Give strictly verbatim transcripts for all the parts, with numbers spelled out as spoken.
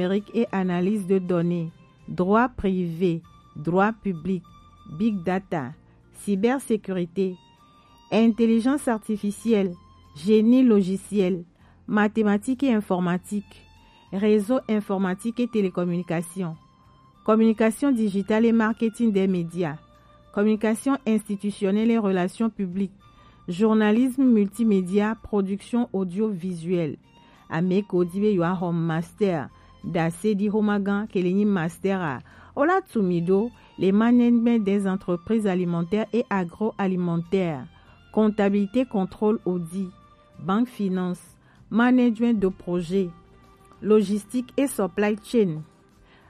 numérique et analyse de données, droit privé, droit public, big data, cybersécurité, intelligence artificielle, génie logiciel, mathématiques et informatique, réseau informatique et télécommunications, communication digitale et marketing des médias, communication institutionnelle et relations publiques, journalisme multimédia, production audiovisuelle. Ame ko di be yewoaxɔ master, ɖase ɖi xomagã ke le nyi master a, wola tu mi ɖo le management des entreprises alimentaires et agroalimentaires, comptabilité, contrôle, audit, banque, finance, management de projet, logistique et supply chain,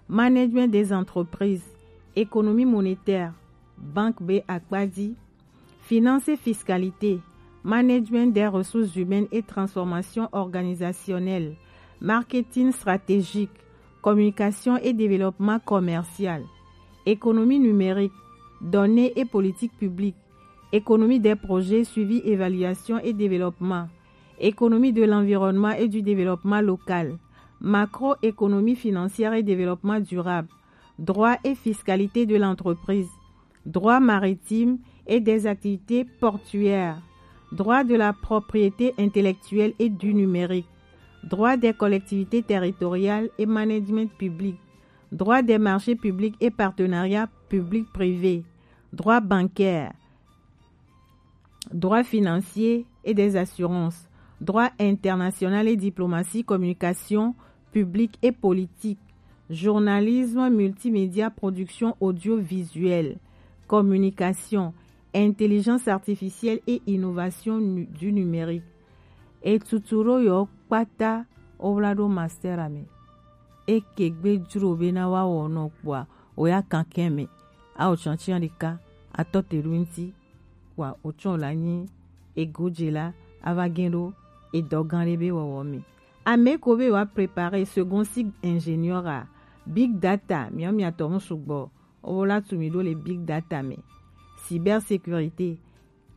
management des entreprises, économie monétaire, banque be akpa di, finance et fiscalité, management des ressources humaines et transformation organisationnelle, marketing stratégique, communication et développement commercial, économie numérique, données et politique publique, économie des projets, suivi, évaluation et développement, économie de l'environnement et du développement local, macroéconomie financière et développement durable, droit et fiscalité de l'entreprise, droit maritime et des activités portuaires, droit de la propriété intellectuelle et du numérique, droit des collectivités territoriales et management public, droit des marchés publics et partenariats public-privé, droit bancaire, droit financier et des assurances, droit international et diplomatie, communication publique et politique, journalisme, multimédia, production audiovisuelle, communication, intelligence artificielle et innovation nu- du numérique. Etutu ɖo yewo kpata wowla ɖo master a me. Eke gbe jro bena woawɔ nɔ kpoa, woya kankɛn me. Awo tsɔntsi ɖeka atɔ te ɖo ŋuti kpoa wotsɔ la nyi egodze la ava gɛn ɖo edɔ gã ɖe be wɔwɔ me. Ame ko be wa préparer second cycle ingénieur a, big data, miawo miatɔ mu sugbɔ, wola tu mi ɖo le big data me, cybersécurité,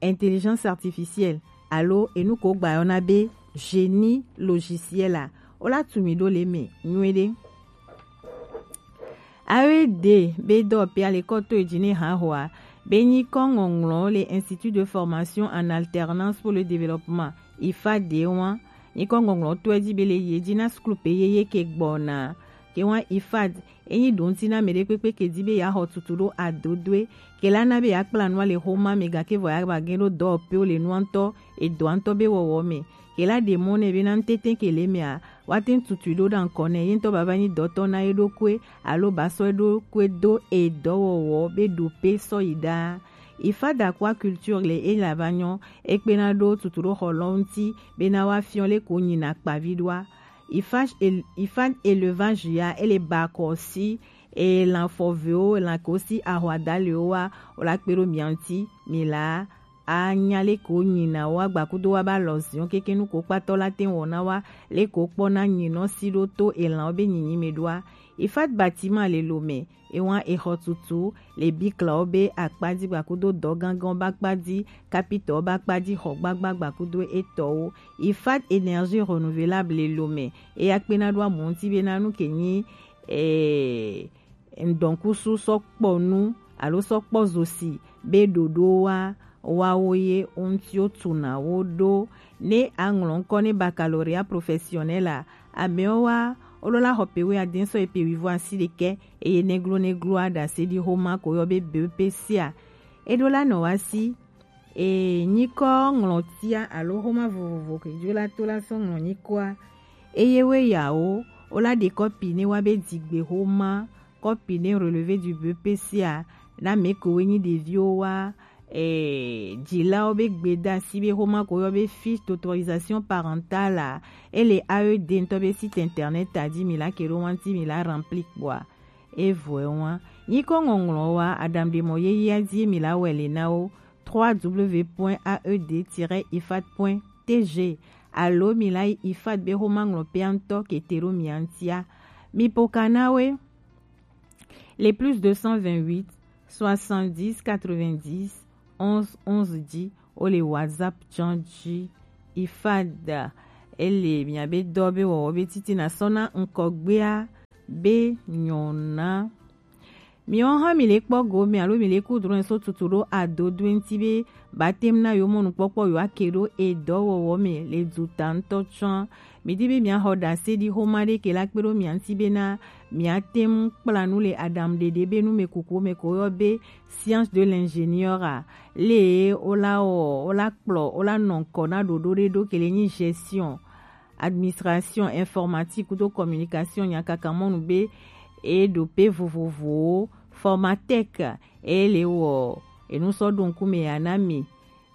intelligence artificielle, alo enu ko gba yɔna be génie logiciel a, wola tu mi ɖo le me nyuiɖe. A E D be dɔwɔƒea le kɔ to edzi ne hahoa be nyikɔ ŋɔŋlɔ le Institut de formation en alternance pour le développement, ifad, wa nyikɔ ŋɔŋlɔ to edzi be le ye dzi na skul pe yeye ke gbɔna ke wa ifad. Enyi ɖo ŋuti na ame ɖe kpekpe ke di be yeaxɔ tutu ɖo adodoe ke la na be yeakpla nua le xoma me gake vɔ yeava gɛn ɖo dɔwɔƒewo le nua ŋutɔ, edɔa ŋutɔ be wɔwɔ me. Ke la ɖe mɔ nɛ bena ŋutete ke le mea, woate ŋu tutui ɖo ɖa ŋkɔ nɛ ye ŋutɔ bava nyi dɔtɔ na ye ɖokui alo ba sɔ ye ɖokui do edɔwɔwɔ be ɖope sɔ yi ɖaa. Ifada kua culture le ela va nyɔ, ekpena ɖo tutu ɖo xɔ lɔ ŋuti bena woafiɔ le ko nyina kpavi ɖoa. Ifad élevage ya ele ba kɔ si elan fɔvewo, elan ko si ahwadalewo wa, wola kpe ɖo mia ŋuti, mi la anya le ko nyina wa gbakudo wa ba lɔ ziɔ keke nu ko kpatɔ la te wɔ na wa le ko kpɔ na nyinɔ si ɖo to elanwo be nyinyi me ɖoa. Ifad bâtiment le lo me, ewa exɔ tutu le biklawo be akpa di gbakudo dɔ gangan ba kpa di, kapitɔ ba kpa di xɔ gbagba gbakudo etɔwo. Ifad énergie renouvelable le lo me, eya kpena ɖo amu ŋuti be na nu ke nyi eh, ŋdɔkusu sɔ kpɔ nu alo sɔ kpɔ zosi be ɖoɖo wa wawo ye ŋuti wo tuna wo ɖo. Ne aŋlɔ ŋkɔ ne baccalauréat professionnel a, amewo wa wolola xɔ pe wuiade sɔ yi pe wuivo asi ɖekɛ eye neglo neglo a ɖase ɖi xoma ko yɔ be B E P C a. Eɖo la nɔ wa si e nyikɔ ŋlɔtia alo xoma vovovo ke dzo la to la sɔ ŋlɔ nyikɔa. Eye we yawo wola ɖe kɔpi ne wa be digbe xoma, kɔpi ne relevé du B E P C a, na me ko we nyi ɖeviwo wa eh, dzilawo be gbedasi be xoma ko yɔ be fiche d'autorisation parentale a, ele A E D ŋutɔ be site internet a dzi mi la ke ɖo wa ŋuti mi la rempli kpoa. Evɔe wa nyikɔ ŋɔŋlɔ wa aɖaŋuɖemɔ yeyea dzie mi la wɛ le na wo, trois W point A E D tiret ifad point T G, alo mi la yi ifad be xoma ŋlɔƒea ŋutɔ ke te ɖo mia ŋutia. Mi ƒo ka na we le plus deux cent vingt-huit, soixante-dix, quatre-vingt-dix, onze, onze dzi, wo le WhatsApp tsã dzi. Ifad, ele miabe dɔ be wɔwɔ be titina sɔ na ŋkɔgbea be nyɔna. Miwo hã mi le kpɔ go mɛ alo mi le ku drɔn so tutu ɖo adodoe ŋuti be batɛmu na yewo mɔ nukpɔkpɔ yewo ake ɖo edɔwɔwɔ mɛ le duta ŋutɔ tsɔa. Mi di be mia xɔ ɖase ɖi xoma ɖe ke la kpe ɖo mia ŋuti be na mia tɛmu kpla nu le aɖaŋuɖeɖe be nu mɛ kuku mɛ ko yɔ be science de l'ingénieur a le wo la wɔ wo la kplɔ wo la nɔ ŋkɔ na ɖoɖo ɖe ɖo ke le nyi gestion, administration, informatique kudo communication nyakaka mɔnu be e ɖo pe vovovowo formatec e le wɔ enu sɔ ɖo ŋkume ya na mi.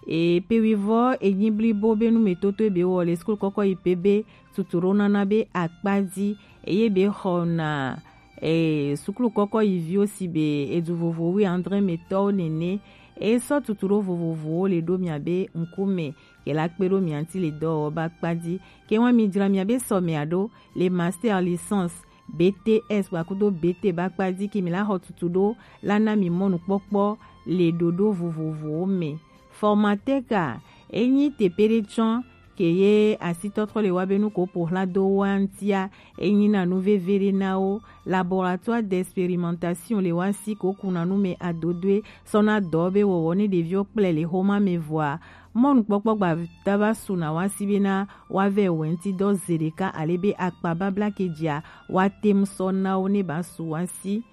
E pe wivɔ enyi blibo be nu me toto be wɔ le sukulu kɔkɔ yi pe be tutu ɖo nana be akpa di eye be xɔ na e sukulu kɔkɔ yi viwo si be edu vovo wi andre me tɔwo nene e sɔ tutu ɖo vovovowo le ɖo mia be ŋkume ke la kpe ɖo mia ŋuti le dɔwɔwɔ ba kpa di. Ke wa mi dzra mia be sɔ mia ɖo le master licence B T S gbakudo B T ba kpa di ke mi la xɔ tutu ɖo la na mi mɔnukpɔkpɔ le ɖoɖo vovovowo me. Formatec a enyi tepe ɖe tsɔ ke ye asitɔtrɔ le wa be nu ko ƒo xla do wa ŋutia enyi na nu veve ɖe na wo. Laboratoire d'expérimentation le wa si ko kuna nu me adodoe sɔ na dɔ be wɔwɔ ne ɖeviwo kple le xoma me vɔa mɔnukpɔkpɔ gbata va su na wa si be na wa vɛ wɛnti dɔ ze ɖeka ale be akpa babla ke dzia wa tem sɔ na wo ne ba su wa si.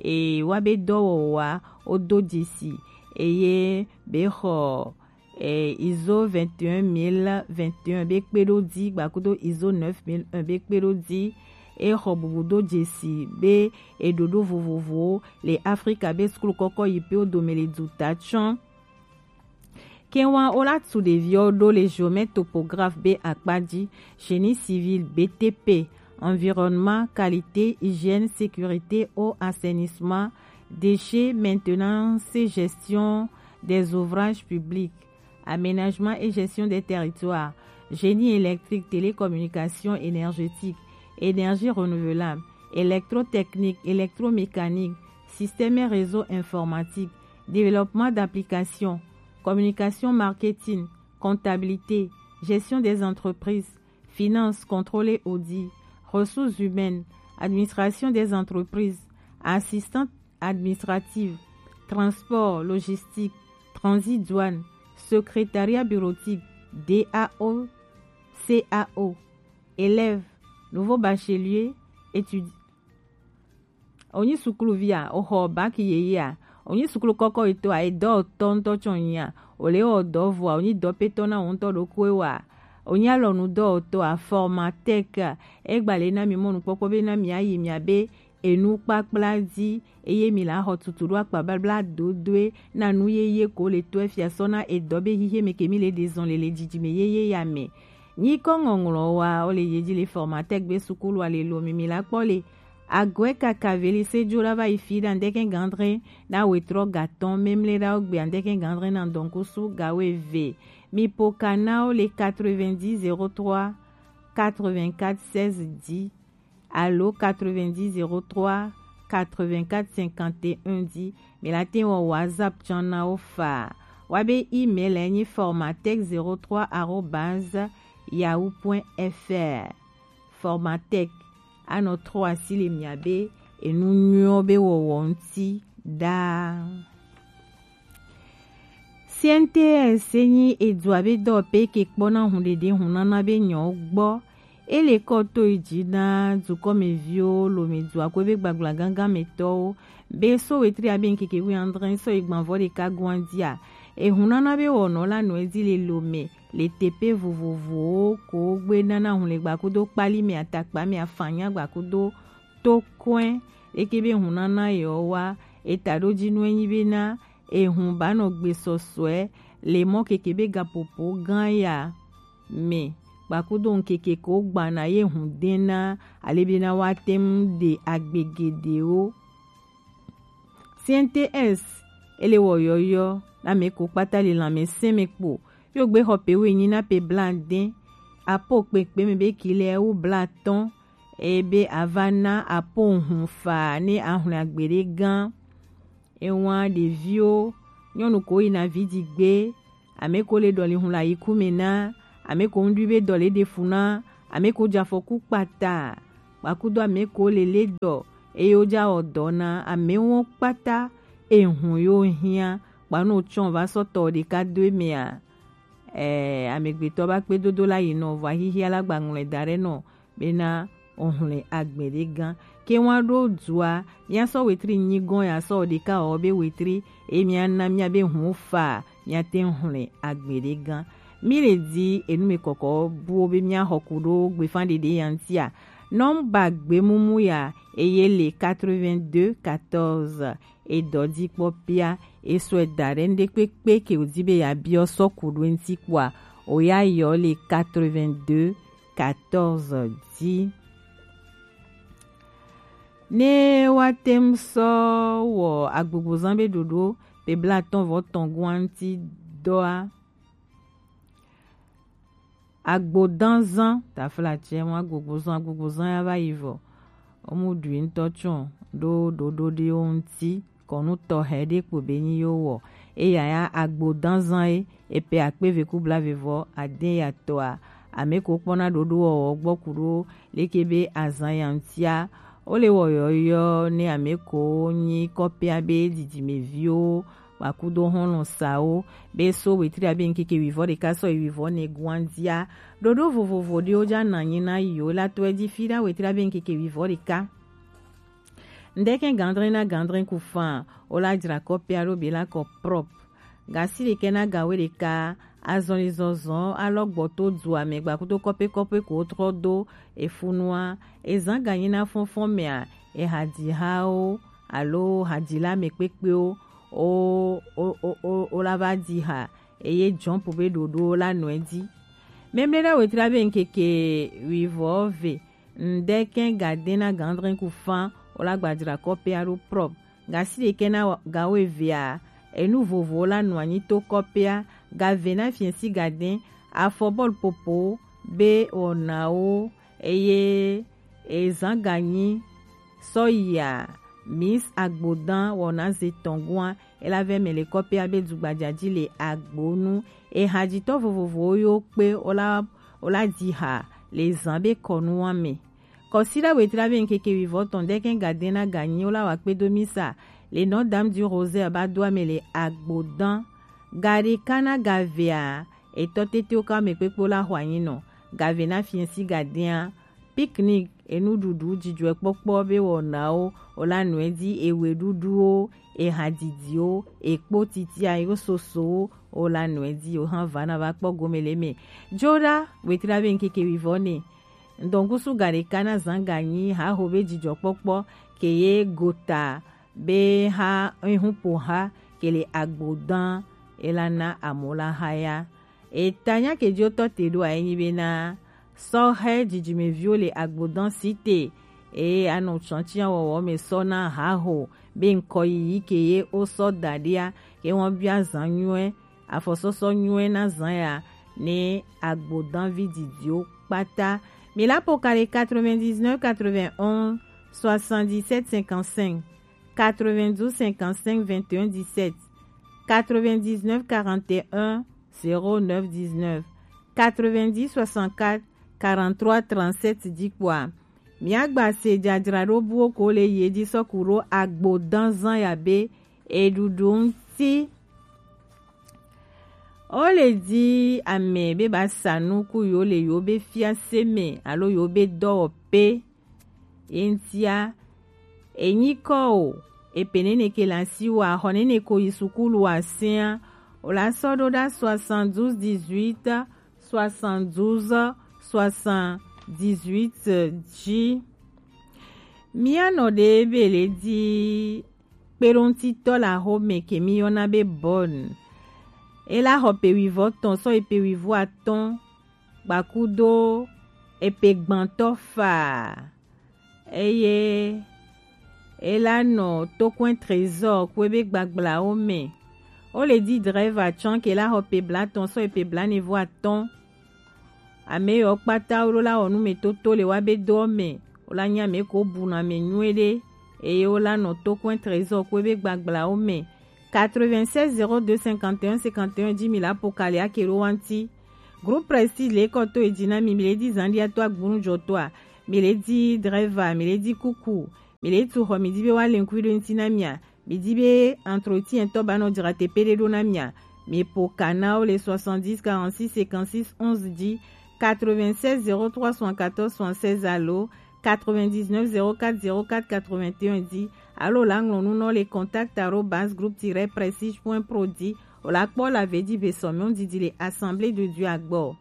E wa be dɔwɔwɔa wo do dzesi eye be xɔ e, iso vingt et un mille vingt et un be kpe ɖo di gbakudo iso neuf mille un be kpe ɖo di. E xɔ bubu do dzesi be eɖoɖo vovovowo le Afrika be sukulu kɔkɔ yi pe wo dome le duta tsɔ. Ke wa wo la tu ɖeviwo ɖo le géomètre topographe be akpa di, génie civil, B T P, environnement, qualité, hygiène, sécurité, eau, assainissement, déchets, maintenance et gestion des ouvrages publics, aménagement et gestion des territoires, génie électrique, télécommunication, énergétique, énergie renouvelable, électrotechnique, électromécanique, système et réseau informatique, développement d'applications, communication, marketing, comptabilité, gestion des entreprises, finance, contrôle et audit, ressources humaines, administration des entreprises, assistante administrative, transport, logistique, transit, douane, secrétariat bureautique, D A O, C A O, élèves, nouveau bachelier, étudiant. Onyi sukuluvi a, oxɔ bac yeye a, onyi sukulu kɔkɔ yi to a, edɔ tɔ ŋutɔ tsɔ nyi a, o le wɔ dɔ vɔ a, onyi dɔpetɔ na wo ŋutɔ ɖokui wa, onyi alɔnu dɔwɔtɔ a, formatec a, egba le na mi mɔnukpɔkpɔ be na mi ayi mia be enu kpakpla di eye mi la xɔ tutu ɖo akpa babla dodoe na nu yeye ko le to efia sɔ na edɔ be hihe me ke mi le ɖe zɔn le le dzidzime yeye ya me. Nyikɔ ŋɔŋlɔ wa o le yedzi le formatec gbe sukulu a le lo mi mi la kpɔ le Agwe kaka veli se dzo la va yi fi ɖa ŋdeke gandre na wetrɔ gatɔn memle ɖa wo gbe ŋdeke gandre na ŋdɔnkusu gawe ve. Mi po ka na wo le quatre-vingt-dix zéro trois quatre-vingt-quatre seize dix alo quatre-vingt-dix zéro trois quatre-vingt-quatre cinquante et un dix. Mi la te wɔ WhatsApp tsɔ na wo fa. Wa be email enyi formatec zéro trois arobase yahoo point F R. Formatec anɔ trɔ asi le mia be enu nyuiwo be wɔwɔ ŋuti ɖaa. C N T S enyi edua be dɔwɔƒe ke kpɔna hunɖeɖe hunana be nyɔwo gbɔ. Ele kɔ to yi dzi na dukɔmeviwo, lome dua ko be gbagblagãgãmetɔwo be so wetri abe ŋkeke wuiadre sɔ yi gbãvɔ ɖeka goa dzia, ehunana be wɔnɔ la nɔ edzi le lome le teƒe vovovowo ko gbe nana hu le gbakudo kpali me, atakpa me, afanya gbakudo tokɔe. Eke be hunana yewo wa eta ɖo dzi nu enyi be na ehun ba nɔ gbe sɔsɔe le mɔ keke be gapopo gã ya me gbakudo ŋkeke ko gbana ye hun dena ale be na wa te ŋu ɖe agbe geɖewo. C N T S ele wɔ yɔyɔ na mɛ ko kpata le lãmesẽ me kpo. Yo gbe xɔ pe woenyi na pe blaade, apo kpekpe me be ki le wu blaatɔ̃, eye be ava na apo hun fa ne ahun agbeɖe gã. Ewa ɖeviwo, nyɔnu ko yina vi di gbe, ame ko le ɖɔli hun le ayiku me na, ame ko ŋɖui be dɔ le ɖe fu na, ame ko dze afɔku kpata. kpakudo ameko lele dɔ, eye wo ja wɔ dɔ na amewo kpata, ehun yo hiã, kpanu tsɔn va sɔ tɔ ɖeka do eme a. Ɛɛ, amegbetɔ ba kpedodo la yi nɔ vɔ ahihia la gba ŋlɔe da ɖe nɔ bena ohun le agbe ɖe gã. Ke wa ɖo dua, mia sɔ wetri nyi gɔn ya sɔ ɖeka wɔ be wetri, e mia na mia be hun fa, mia te hun le agbe ɖe gã. Mi le di enu me kɔkɔ buwo be mia xɔ ku ɖo gbefa ɖeɖe ya ŋutia. Nɔmba gbemumu ya eye le quatre-vingt-deux quatorze. E dɔ di kpɔ pia, e sɔe da ɖe ŋɖe kpekpe ke wòdi be yeabiɔ sɔ ku ɖo eŋuti kpɔa, o ya yɔ le quatre-vingt-deux quatorze di. Ne woate ŋu sɔ wɔ agbogbozã be ɖoɖo pe blaatɔ̃ vɔ tɔ̃ goa ŋuti dɔa, agbodanzã, taflatse mɔ agbogbozã, agbogbozã ya va yi vɔ. Wo mu ɖui ŋutɔ tsɔ ɖo ɖoɖo ɖewo ŋuti, kɔnu tɔxɛ ɖe kpo be nyi yo wɔ. Eya ya agbodanzã ye, epe akpe ve ku blaeve vɔ ade ya tɔa, ame ko kpɔna ɖoɖo wɔwɔ gbɔ ku ɖo leke be azã ya ŋutia, wo le wɔ yɔyɔ ne ame ko nyi kɔpea be dzidzimeviwo, kpakudo xɔlɔ sawo, be so wetri abe ŋkeke wivɔ ɖeka sɔ yi wivɔ ne guandia. Ɖoɖo vovovo ɖewo ja na nyi na yi wo la tɔe di fi ɖa wetri abe ŋkeke wivɔ ɖeka. Ŋdɛkɛ gandrin na gandrin ku fan, wo la jra kɔpea ɖo be la kɔ prop. Gasi ɖekɛ na gawe ɖeka, azɔli zɔzɔ alɔ gbɔ to dua me gbakudo kɔpe kɔpe ko trɔ do efunua, ezan ganyi na fɔnfɔn mea, ehadzihawo alo hadzila me kpekpewo, o, o, o, o, o la va di ha, eye jɔmpu be ɖoɖo la nɔe di. Memle ɖa wetri abe ŋkeke wivɔ ve, ŋdɛkɛ gadɛn na gandrin ku fan, o la gbajra kɔpea ɖo prop. Gasi ɖekɛ na gawo evea, enu vovowo la nɔ anyi to kɔpea, gave na fiɛsi gadɛn, afɔbɔl popo be wɔnawo, eye ezan ganyi sɔ yia Miss Agbodan wɔna ze tɔn goa, e la vɛ mɛ le kɔpea be dugbaja ji le agbonu. Ehadzitɔ vovovowo yo kpe o la, o la di ha le zan be kɔnua me. Kɔsiɖa wetri abe ŋkeke wivɔ tɔn ŋdɛkɛ gadɛn na ganyi o la wa kpe do misa le Notre Dame du Rosaire ba do ame le Agbodan. Gaɖeka na gavea, etɔ tetewo ka me kpekpe o la xɔ anyi nɔ. Gave na fiɛsi gadɛa, picnic, enuɖuɖu, dzidzɔkpɔkpɔ be wɔnawo, o la nɔe di, eweɖuɖuwo, ehadidiwo, ekpo titia, yo sosowo, o la nɔe di, o hã va na va kpɔ gome le me. Joɖa wetri abe ŋkeke wivɔ ne. Ŋdɔngusu gaɖeka na zan ganyi haho be dzidzɔkpɔkpɔ ke ye gota be ha ehun po ha ke le Agbodan e la na amo la ha ya. Eta nya ke jo tɔ te ɖo a enyi be na sɔhɛ dzidzimeviwo le Agbodan site e anɔ tsɔntsia wɔwɔ me sɔ na haho be ŋkɔ yiyi ke ye o sɔ da ɖia ke wɔn bia zan nyuɛ afɔsɔsɔ nyuie na zã ya ne agbodanvi didiwo kpata. Mi la po ka le quatre-vingt-dix-neuf quatre-vingt-onze soixante-dix-sept cinquante-cinq, quatre-vingt-douze cinquante-cinq vingt et un dix-sept, quatre-vingt-dix-neuf quarante et un zéro neuf dix-neuf, quatre-vingt-dix soixante-quatre quarante-trois trente-sept di kpɔa. Miagba se jajraɖo buwo ko le yi edzi sɔ ku ɖo agbodan zã ya be eɖuɖu ŋuti. Wo le di ame be ba sa nu ku yewo le yewo be fiase me alo yewo be dɔwɔƒe. Ye ŋutia, enyi kɔ o, epe nene ke le asi wa, xɔ nene ko yi sukulu wa sẽa, o la sɔ ɖo ɖa soixante-douze dix-huit soixante-douze soixante-dix-huit dzi. Mía nɔ ɖe be le di kpeɖoŋutitɔ le axome ke mí yɔna be Bonn. E la xɔ pe wuivɔ tɔn sɔ yi pe wuivɔ atɔ̃ gbakudo epe gbãtɔ faa. Eye e la nɔ Tokwɛ Trésor kue be gbagblãwo me. Wo le di Dreva tsã ke la xɔ pe blatɔ̃ sɔ yi pe blaenevɔ atɔ̃. Ame yiwo kpata wo ɖo la wɔ numetoto le wa be doɔ me, wo la nyi ame ko buna ame nyuie ɖe, eye wo la nɔ Tokwɛ Trésor kue be gbagblãwo me. Quatre-vingt-seize zéro deux cinquante et un cinquante et un dix mille apo kali ake ɖo wa ŋuti. Groupe Prestige le kɔ to edzi na mi, mi le di zan ɖia to agbonu jɔ toa. mi le di driver, mi le di kuku, mi le tu xɔ, mi di be wa le ŋkui ɖo ŋuti na mia, mi di be entretien tɔ ba nɔ dzra te pe ɖe ɖo na mia, mi po ka na wo le soixante-dix quarante-six cinquante-six onze di, quatre-vingt-seize zéro trois soixante-quatorze soixante-seize alo quatre-vingt-dix-neuf zéro quatre zéro quatre quatre-vingt-un di, alo la ŋlɔ nu nɔ le contact arobase groupe tiret prestige point pro di, o la kpɔ la ve di ve sɔmiɔn didi le Assemblée de Dieu agbɔ.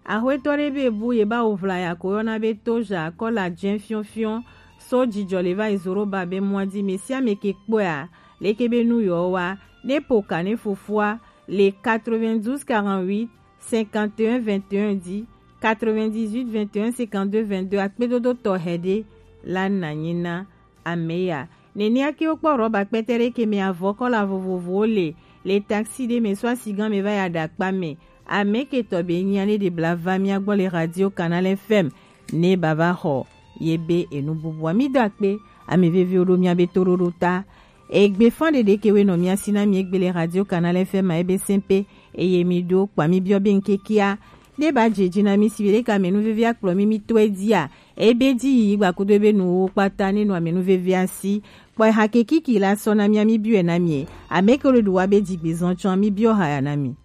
Axwetɔ ɖe be bu ye ba wo vla ya ko yɔna be toja kɔ la jɛn fiɔfiɔ, so jijɔ le va yi zoro ba be mɔ di me sia me ke kpɔa, leke be nu yɔ wa, ne po ka ne fofoa, le quatre-vingt-douze quarante-huit cinquante et un vingt et un di, quatre-vingt-dix-huit vingt et un cinquante-deux vingt-deux akpedodo tɔxɛ ɖe la na nyi na ame ya. Nenea ke wokpɔ rɔba kpɛtɛ ɖe ke me avɔ kɔla vovovowo le, le taxi ɖe me so asigan me va ya ɖe akpa me. Ame ke tɔ be nya ne ɖe bla va mia gbɔ le Radio Canal F M ne ba va xɔ ye be enu bubua. Mi do akpe, ame veviwo ɖo mia be toɖoɖo ta. Egbe fan ɖeɖe ke we nɔ mia si na mi egbe le Radio Canal F M a ebe sɛn pe, eye mi ɖo kpa mi biɔ be ŋkekia ne ba dze dzi na mi si be ɖeka ame nu vevi akplɔ mi mi tɔe dia, ebe di yi gba kudo ebe nuwo kpata ne nɔ ame nu vevi asi. Kpɔ ha ke kiki la sɔ na mia mi biɔe na mi. Ame ke ɖo ɖu wa be dzi gbe zɔn tsɔ mi biɔ ha ya na mi.